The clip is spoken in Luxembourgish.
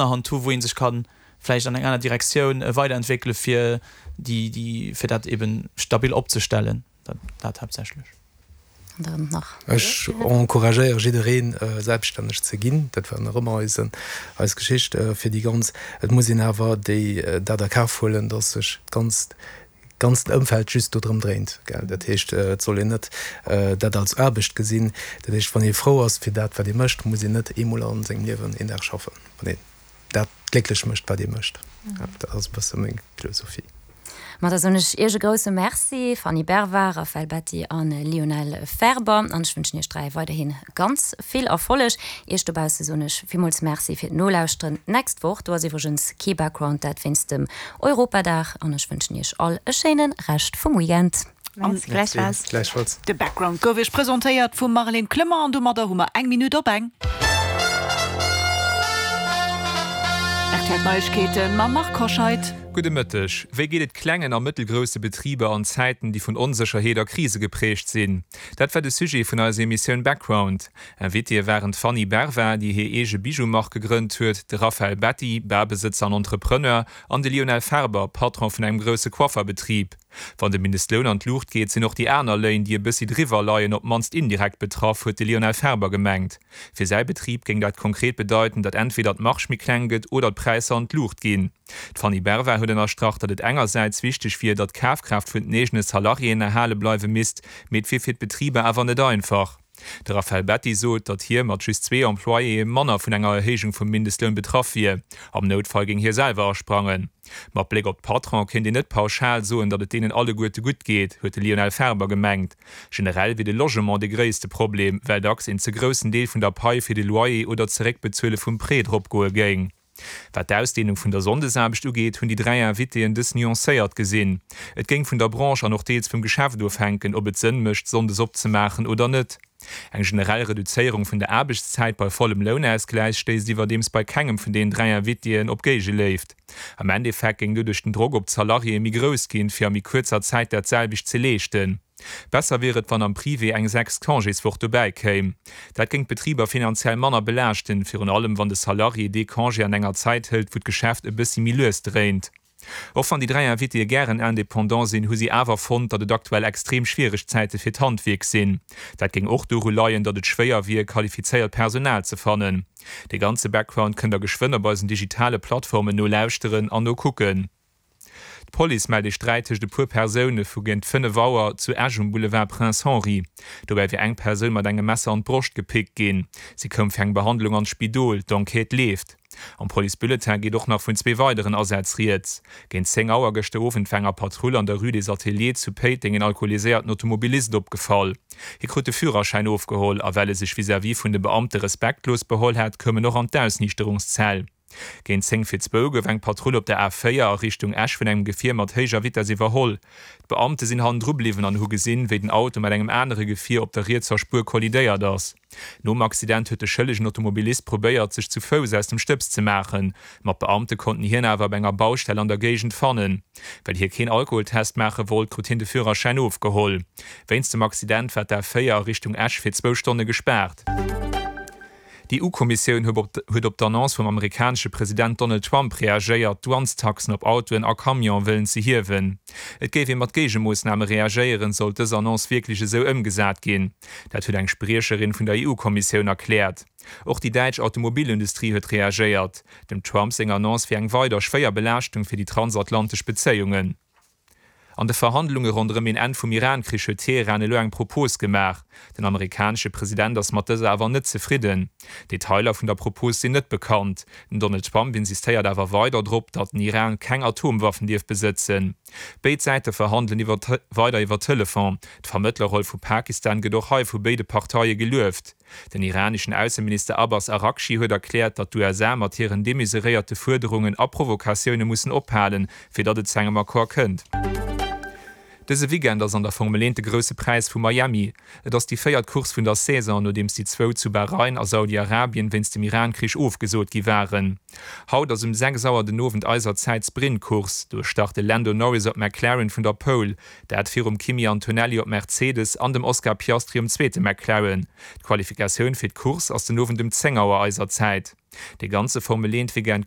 Hand hu wou ee sech ka vläicht an eng aner Direktioun weiderentwéckele fir déi, déi, fir dat eben stabil opzestellen. Dat, dat haaptsächlech. An dann nach. Ech encouragéiere jiddereen, selbststänneg ze ginn. Dat war nach ëmmer eisen, eis Geschicht fir déi ganz. Et muss een awer déi, dat a Kaf huelen, dass sech d'ganzt, d'ganzt Ëmfeld just dodrëm dréint, gell. Dat heescht, et soll een net dat als Aarbecht gesinn. Dat heescht, wann ee frou ass fir dat, wat ee mécht, muss een net eemol a sengem Liewen een Dag schaffen, wann een dat glécklech mécht, wat ee mécht. Dat ass e bësse meng Philosophie. Ma da soen ech Iech e grousse Merci, Fanny Bervard, Raphaël Betti a Lionel Ferber. An ech wënschen Iech 3 weiderhi ganz vill Erfolleg. Iech dobausse soen ech villmools Merci fir d'Nolauschteren. D'nächst Woch, do ass iwwregens kee Background, dat wéinst dem Europadag. An ech wënschen Iech all e schéine Rescht vum Weekend. Merci, gläichfalls. Gläichfalls. De Background gouf Iech presentéiert vum Marlène Clement an domadder hu mer eng Minutt op eng. RTL Neiegkeeten mam Marc Hoscheid. Gudde Mëtteg. Wéi geet et klengen a mëttelgrousse Betriber an Zäiten, déi vun Onsécherheet a Krise geprägt sinn? Dat war de Sujet vun eiser Emissioun Background. Invitéë waren d'Fanny Bervin, déi hir eege Bijou-Mark gegrënnt huet, de Raphaël Betti, Barbesëtzer an Entrepreneur, an de Lionel Ferber, Patron vun engem grousse Coifferbetrib. Wann de Mindestloun an d'Luucht geet, sinn och déi aner Léin, déi e bëssi driwwer leien, op d'mannst indirekt betraff, huet de Lionel Ferber gemengt. Fir säi Betrib géing dat konkret bedeiten, datt entweder d'Marge méi kleng gëtt oder d'Präisser an d'Luucht ginn. D'Fanny Bervard huet ënnerstrach, datt et engersäits wichteg wier, datt d'Kafkraaft vun den eegene Salariéen erhale bleiwe misst, mee et wier fir d'Betriber awer net einfach. De Raphaël Betti sot, datt hie mat just zwee Employéë manner vun enger Erhéijung vum Mindestloun betraff wier. Am Noutfall géing hie selwer asprangen. Mat Bléck op d'Patronen kéint een net pauschal soen, datt et deenen alleguerte gutt geet, huet de Lionel Ferber gemengt. Generell wier de Logement de gréisste Problem, well dacks een ze groussen Deel vun der Pai fir de Loyer oder d'Zeréckbezuele vum Prêt dropgoe géing. Wat d'Ausdehnung vun der Sonndesaarbecht ugeet, hunn déi 3 Invitéen dës nuancéiert gesinn. Et géing vun der Branche an och deels vum Geschäft ofhänken, ob et Sënn mécht, sonndes opzemaachen oder net. Eng generell Reduzéierung vun der Aarbechtszäit bei vollem Lounausgläich stéisst iwwerdeems bei kengem vun deenen 3 Invitéen op Géigeléift. Am Endeffekt géing doduerch den Drock op d'Salariéë méi grouss ginn, fir a méi kuerzer Zäit dat selwecht ze leeschten. Besser wier et, wann am Privé eng sechst Congéswoch dobäi kéim. Dat géing d'Betriber finanziell manner belaaschten, virun allem wann de Salarié dee Congé an enger Zäit hëlt, wou d'Geschäft e bëssi méi lues dréint. Och wann déi 3 Invitéë gären Indépendant sinn, hu si awer fonnt, datt et aktuell extrem schwiereg Zäite fir d'Handwierk sinn. Dat géing och doru leien, datt et schwéier wier, qualifizéiert Personal ze fannen. De ganze Background kënnt der geschwënn op eisen digitale Plattformen nolauschteren an nokucken. D'Police mellt ee Sträit tëscht e puer Persoune vu géint 5 Auer zu Esch um Boulevard Prince Henri. Dobäi wier eng Persoun mat engem Messer an d'Broscht gepickt ginn. Si koum fir eng Behandlung an d'Spidol. D'Enquête leeft. Am Policebulletin geet och nach vun zwee weideren Asätz rieds. Géint 10 Auer gëschter Owend war enger Patrull an der Rue des Ateliers zu Péiteng een alkoholiséierten Automobilist opgefall. Hie krut de Führerschäin ofgeholl a well e sech vis-à-vis vun de Beamte respektlos beholl hat, koum en och an d'Ausniichterungszell. Géint 10 vir zwou gouf eng Patrull op der A4 a Richtung Esch vun engem Gefier mat héijer Vitess iwwerholl. D'Beamte sinn hannendru bliwwen an hu gesinn, wéi den Auto mat engem anere Gefier op der rietser Spuer kollidéiert ass. Nom Accident huet de schëllegen Automobilist probéiert, sech zu Fouss aus dem Stëbs ze maachen, ma d'Beamte konnten hien awer op enger Baustell an der Géigend fannen. Well hie keen Alkoholtest maache wollt, krut hien de Führerschäin ofgeholl. Wéinst dem Accident war d'A4 a Richtung Esch fir zwou Stonne gespaart. D'EU-Kommissioun huet op d'Annonce vum amerikanesche President Donald Trump reagéiert, d'Douanestaxen op Autoen a Camione wëllen ze hiewen. Et géif ee mat Géigemoossname reagéieren, sollt dës Annonce wierklech esou ëmgesat ginn. Dat huet eng Spriecherin vun der EU-Kommissioun erkläert. Och déi däitsch Automobilindustrie huet reagéiert. Dem Trump seng Annonce wier eng weider schwéier Belaaschtung fir déi transatlantesch Bezéiungen. An de Verhandlunge ronderëm een Enn vum Iran-Krich huet Teheran elo eng Propos gemaach. Den amerikanesche President ass mat dëser awer net zefridden. Detailer vun der Propos sinn net bekannt. Den Donald Trump insistéiert awer weider drop, datt den Iran keng Atomwaffen dierf besëtzen. Béid Säite verhandelen iwwer weider iwwer Telefon. D'Vermëttlerroll vu Pakistan gëtt och hei vu béide Parteie gelueft. Den iraneschen Ausseminister Abbas Araghchi huet erkläert, datt d'USA mat hiren demesuréierte Fuerderungen a Provokatioune mussen ophalen, fir datt et zu engem Accord kënnt. Dëse Weekend ass an der Formel 1 de Grousse Präis vu Miami. Et ass déi véiert Course vun der Saison, nodeems déi zwou zu Bahrain a Saudi-Arabien wéinst dem Iran-Krich ofgesot gi waren. Haut ass um 6 Auer den Owend eiser Zäit d'Sprint-Course. Do start de Lando Norris op McLaren vun der Pole, dat virum Kimi Antonelli op Mercedes an dem Oscar Piastri um zweete McLaren. D'Qualifikatioun fir d'Course ass den Owend um 10 Auer eiser Zäit. De ganze Formel 1-Weekend kënnt.